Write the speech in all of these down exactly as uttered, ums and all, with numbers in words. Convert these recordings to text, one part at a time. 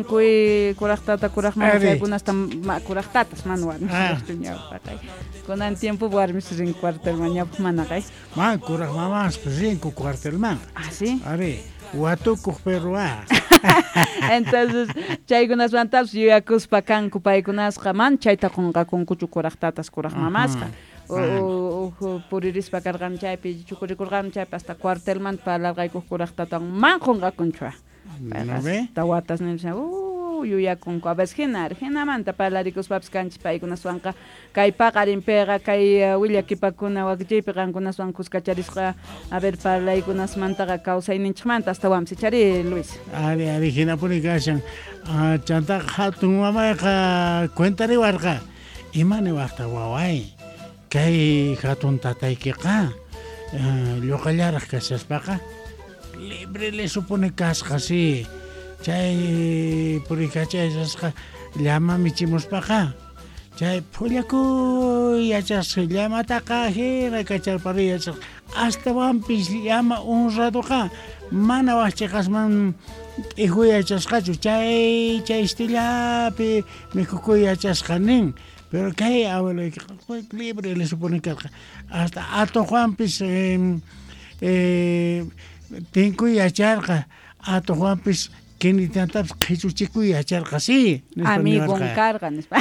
Kuy kuraq tata kuraq mama Ari. Chaykunasta ma kuraq tatas mana warmis Ah. riqchu ñawpaqay. Kunan tiempo warmis rin cuartelman, ñawpaq mana qay. Ma kuraq mamaspas rinku cuartelman. Ah, sí. Ari, watukuq perro ah. Entonces chaykunasmantapas yuyakuspa kanku paykunasqa, man chayta qunqakunkuchu kuraq tatas kuraq mamasqa. Ajá. Uj puririspa karqan chaypi chukurikurqan chaypi hasta cuartelmanta parlarqaykuq kuraq tatan man qunqakunchu. ¿No ve? Hasta watas nispa, uh, yuyakunku a veces hina hinamanta parlarikuspapis kanchis paykunaswanqa kay paqarinpiqa kay uh, willakipakuna wakichiypi qankunaswan kuskacharisqa a ver parlaykunasmantaqa kawsayninchikmanta astawanpis ichari Luis. Ari, ari, hinapuni kashan. Ah, chantaqa hatun mamayqa cuentariwarqa. Ima niwaqta waway? Kay hatun tataykiqa ah, lluqallaraq kashaspaqa libre le supone kasqa sí. Chay purikachayasqa llama michimuspaqa chay phullakuy yachasqa llamataqa hina kacharpariy yachasqa astawanpis llama honradoqa mana waqchiqasman t'ijuy yachasqachu chay chay estillapi mikhukuy yachasqa nin. Pero kay abueloykiqa libre le supone karqa hasta atuqwanpis eh, eh, tinkuy yacharqa atuqwanpis kinitantapis qhichuchikuy yacharqa sí nispa Amigon niwarqa. Karqa nispa.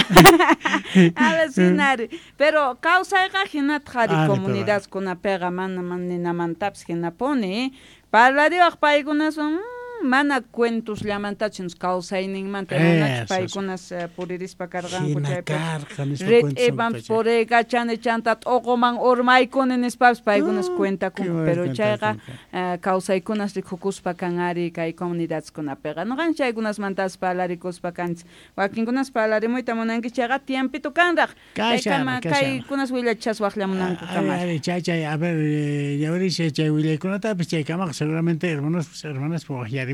A ver hinari pero kawsayqa hinataq ari Ari, pero- comunidadkunapiqa mana mana ninamantapis hinapuni parlariwaq paykunaswan mm, mana cuentosllamantachu kawsayninmanta runachu Eso, paykunas eh, puririspa karqanku Hina chaypi karqa nispa rit'ipan cuentos puriykachani chanta t'uquman urmaykuni nispapis paykunas Ah, cuentakunku qué pero buena chayqa cuentakunku. eh, kawsaykunas rikukuspa kan ari kay comunidadkunapiqa nuqanchik chaykunasmantas parlarikuspa kanchik wakinkunas parlarimuyta munanki chayqa tiempito kanraq Kashan, chaykama kashan. kaykunas willachas waqllamunanku Ari, kamar ari, chay, chay, a ver, eh, ñawiricha chay willaykunatapis chaykamaqa seguramente hermanos hermanas waqllarimunqanku.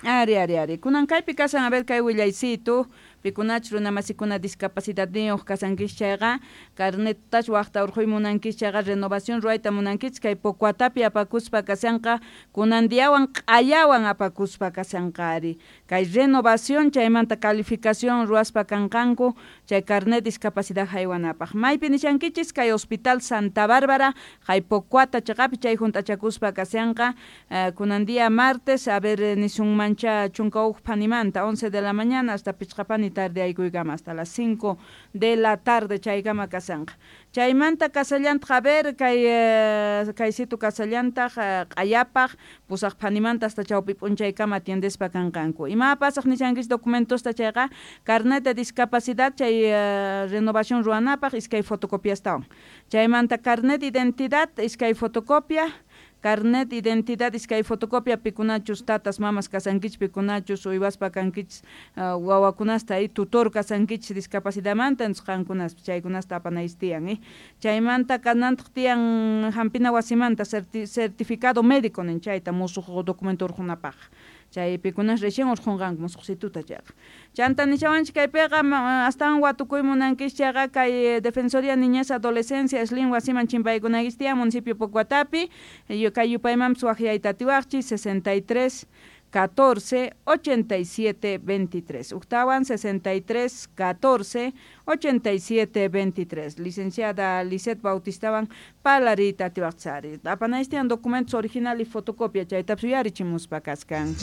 Ari, ari, ari. Kunan kaypi kasan, a ver, kay willaysitu, pikunach runamasikuna discapacidadniyuq kasankichik chayqa, carnetach waqta urquy munankichik chayqa, renovación ruwayta munankichik, kay Pocuatapi apakuspa kasanqa, kunan diawan q'ayawan apakuspa kasanqa ari. Kay renovación chaymanta calificación ruwaspa kanqanku, chay carnet discapacidad haywanapaq. Maypi nishankichis kay Hospital Santa Bárbara, kay Pocuata chaqapi chay junt'achakuspa kasanqa, eh, kunan día martes, a ver, nisunmancha chunka huk phanimanta, once de la mañana hasta pichqapani tarde aykuykama, hasta las cinco de la tarde chaykama kasanqa. Chaymanta kasallantaq, a ver, kay, eh, kaysitu kasallantaq, eh, q'ayapaq, pusaq phanimanta hasta chawpi p'unchaykama atiendespa kanqanku. Ima pasaq nishankis documentosta chayqa, carnet de discapacidad chay, eh, renovación ruwanapaq iskay fotocopiastawan. Chaymanta carnet de identidad iskay fotocopia, carnet de identidad iskay fotocopia pikunachus tatas mamas kasankichik pikunachus uywaspa kankichik uh, wawakunasta y tutor kasankichik discapacidadmanta entonces qankunas chaykunasta apanayis tiyan eh. Chaymanta kanantaq tiyan hampina wasimanta certi certificado médico nin chayta musuq documento urqunapaq. Chay pikunas recién urqunqanku musuqsituta chayqa. Chanta nishawanchik kaypiqa astawan watukuy munankichik chayqa kay Defensoría Niñez Adolescencia Slim wasiman chimpaykunaykichik tiyan municipio Pocuatapi kay yupaymanpis waqyayta atiwaqchik sesenta y tres catorce ochenta y siete veintitrés. Uktawan sesenta y tres catorce ochenta y siete veintitrés. Licenciada Lisette Bautistawan palarita atiwaqchari. Apanaystian documentos original y fotocopia chaytapis yuyarichimuspa kaskan.